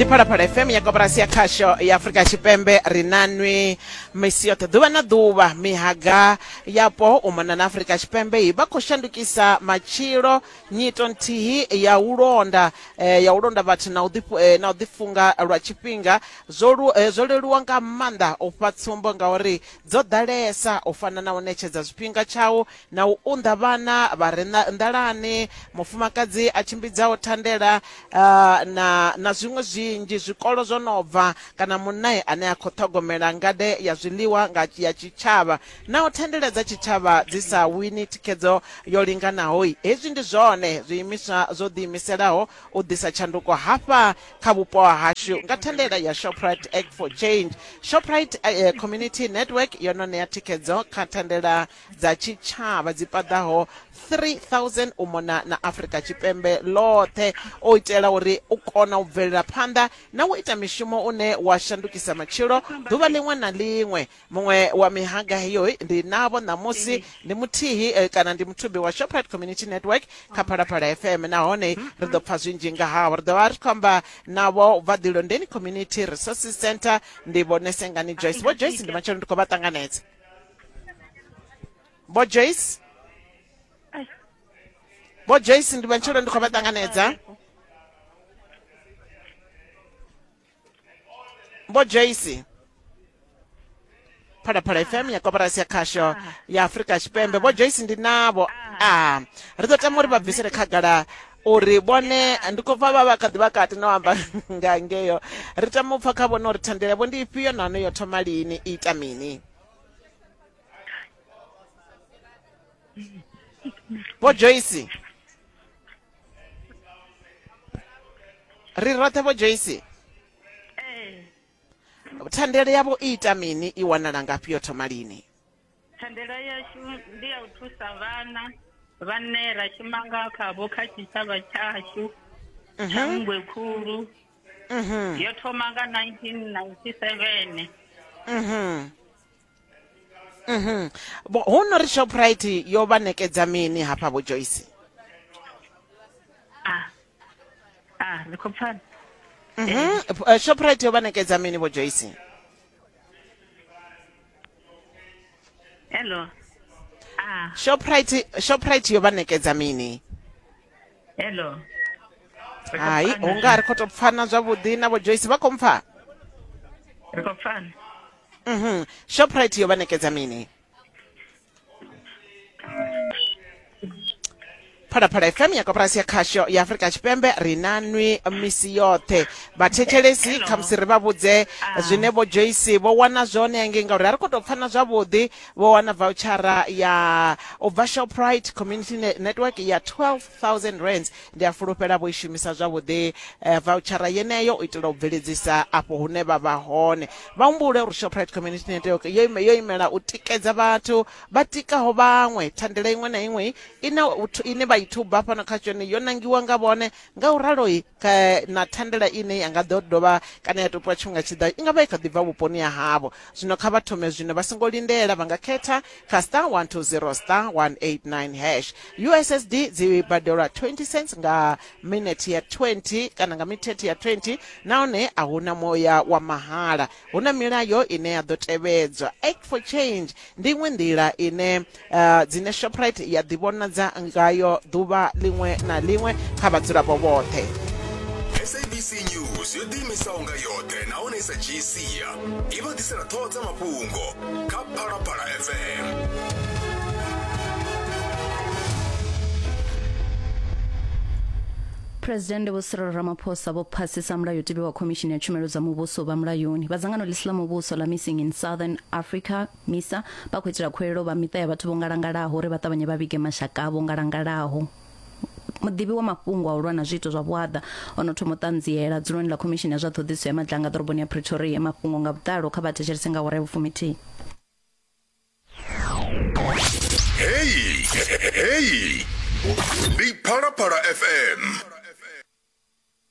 Ndi Phalaphala FM ya koporasi ya khasho ya Afrika Tshipembe. Ri na nwi misi yoṱhe ḓuvha na ḓuvha. Mihaga yapo u mona na Afrika Tshipembe vha khou shandukisa matshilo. Nyito nthihi ya u londa eh, ya u londa vhathu na u ḓi eh, na u ḓifunga lwa tshifhinga zwo lu, eh, zwo leluwa nga maanḓa u fha tsumbo ngauri dzo ḓalesa u fana na u ṋetshedza zwifhinga tshau na u unḓa vhana vha re nḓalani, mufumakadzi a tshimbidzaho thandela na na zwiṅwe zwinzhi, zwikolo zwo no bva kana munna ane a khou ṱhogomela ngade ya zwiḽiwa nga ya tshitshavha. Naho thandela dza tshitshavha dzi sa wini thikhedzo yo linganaho, hezwi ndi zwone zwiimiswa zwo ḓiimiselaho u ḓisa tshanduko hafha kha vhupo ha hashu nga thandela ya Shoprite Act for Change. Shoprite Community Network yo no ṋea thikhedzo kha thandela dza tshitshavha dzi paḓaho 3000 u mona na Afrika Tshipembe ḽoṱhe u itela uri u kona u bvelela phanḓa na u ita mishumo une wa shandukisa matshilo ḓuvha ḽiṅwe na ḽiṅwe. Muṅwe wa mihaga heyo ndi navho ṋamusi ndi muthihi eh, kana ndi muthubi wa Shoprite Community Network kha Phalaphala FM nahone ri ḓo pfa zwinzhi nga havho. Ri ḓo vha ri khou amba navho bva Ḓilondeni Community Resources Centre ndi Vho Nesengani Joyce. Vho Joyce ndi matshelo ndi khou vha ṱanganedza. Vho Joyce Vho Joyce ndi matshelo ndi khou vha ṱanganedza. Vho Joyce Phalaphala FM ya koporasi ya khasho ya Afrika Tshipembe Vho Joyce ndi navho a ri ḓo tama uri vha bvisele khagala uri vhone ndi khou pfa vha vha kha ḓi vha kati no amba nga ngeyo ri tama u pfa kha vhone uri thandela yavho ndi ifhio nahone yo thoma lini i ita mini Vho Joyce ri roṱhe Vho Joyce thandela yavho i ita mini i wanala ngafhi yo thoma lini Thandela yashu ndi ya u thusa vhana vhane ra shuma nga khavho kha tshitshavha tshashu tsha Nngwe Khulu. Yo thoma nga 1997. Mhm. Vho hu no ri Shoprite yo vha nekedza mini hafha Vho Joyce? Ah. Ah, ri khou pfana. Mhm. Eh, Shoprite yo vha nekedza mini Vho Joyce? Hello. Ah. Shoprite Shoprite yo vha nekedza mini? Hello. Hai, hu nga ri khou tou pfana zwavhuḓi na Vho Joyce vha khou mpfa? Ri khou pfana. Mhm. Shoprite yo vha nekedza mini? Phalaphala FM ya koporasi ya khasho ya Afrika Tshipembe ri na nwi misi yoṱhe vhathetshelesi khamusi ri vha vhudze ah. zwine vho Joyce vho wana zwone hangei ngauri a ri khou tou pfana zwavhuḓi vho wana vouchara ya u bva Shoprite Community Network ya 12000 rands Ndi a fulufhela vho i shumisa zwavhuḓi vautshara yeneyo u itela u bveledzisa afho hune vha vha hone. Vha humbule uri Shoprite Community Network yo ime, yo imela u tikedza vhathu vha tikaho vhaṅwe. Thandela iṅwe na iṅwe ine, ine vha i thuba fhano kha tshone yo nangiwa nga vhone, ngauralo na thandela ine ya nga ḓo dovha kana ya topiwa tshifhinga tshi ḓaho i nga vha i kha ḓi bva vhuponi ha havho. Zwino kha vha thome zwino vha songo lindela, vha nga khetha kha star 120 star 189 hash. USSD dzi badelwa 20 cents nga minete ya 20 kana nga mithethe ya 20 nahone a hu na muya wa mahala. Hu na milayo ine ya ḓo tevhedzwa. Act for Change ndi iṅwe nḓila ine uh, dzine Shoprite ya ḓivhonadza ngayo ḓuvha ḽiṅwe na ḽiṅwe kha vhadzulapo vhoṱhe. SABC News yo ḓiimisaho nga yoṱhe nahone i sa dzhii sia i vha ḓisela ṱhoho dza mafhungo kha Phalaphala FM. Phresidennde Vho Cyril Ramaphosa vho phasisa mulayotibe wa Khomishini ya Tshumelo dza Muvhuso vha mulayoni. Vha dzangano ḽi si ḽa muvhuso ḽa Missing in Southern Africa, MISA, vha khou itela khuwelelo vha miṱa ya vhathu vho ngalangalaho uri vha ṱavhanye vha vhige mashaka avho ngalangalaho. Muḓivhi wa mafhungo a u lwa na zwiito zwa vhuaḓa o no thoma u ṱanziela dzuloni ḽa Khomishini ya zwa Ṱhoḓisiso ya Madlanga ḓoroboni ya Pretoria. Mafhungo nga vhuḓalo kha vha thetshelese nga awara ya vhufumithihi. Heyi, heyi ndi Phalaphala FM.